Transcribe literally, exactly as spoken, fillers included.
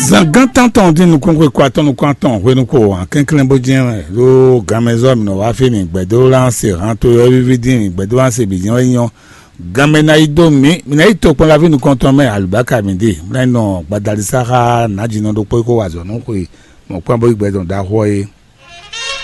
Zan gán tántɔn dín nukúnxwe kó atɔn nukún atɔn hwenu kó hǎn kɛnklɛ́n bó jɛ́n wɛ ɖó ganmɛzɔ́ mǐ nɔ wá fí mǐ gbɛdó lá se hǎn to ɔ́ víví dín mǐ gbɛdó lá se bǐ jɛ́n wɛ nyí ɔ́, ganmɛ ná yi dó mǐ, mǐ ná yi tokpɔn laví nukɔntɔn mɛ alubáka mǐ ɖe, mǐ ná yi nɔ gbadalisa xá nǎjínɔ ɖokpó e kó wa azɔ̌ nú xwe mɔ̌kpán bó yi gbɛ dɔn ɖaxó ɔ́ é.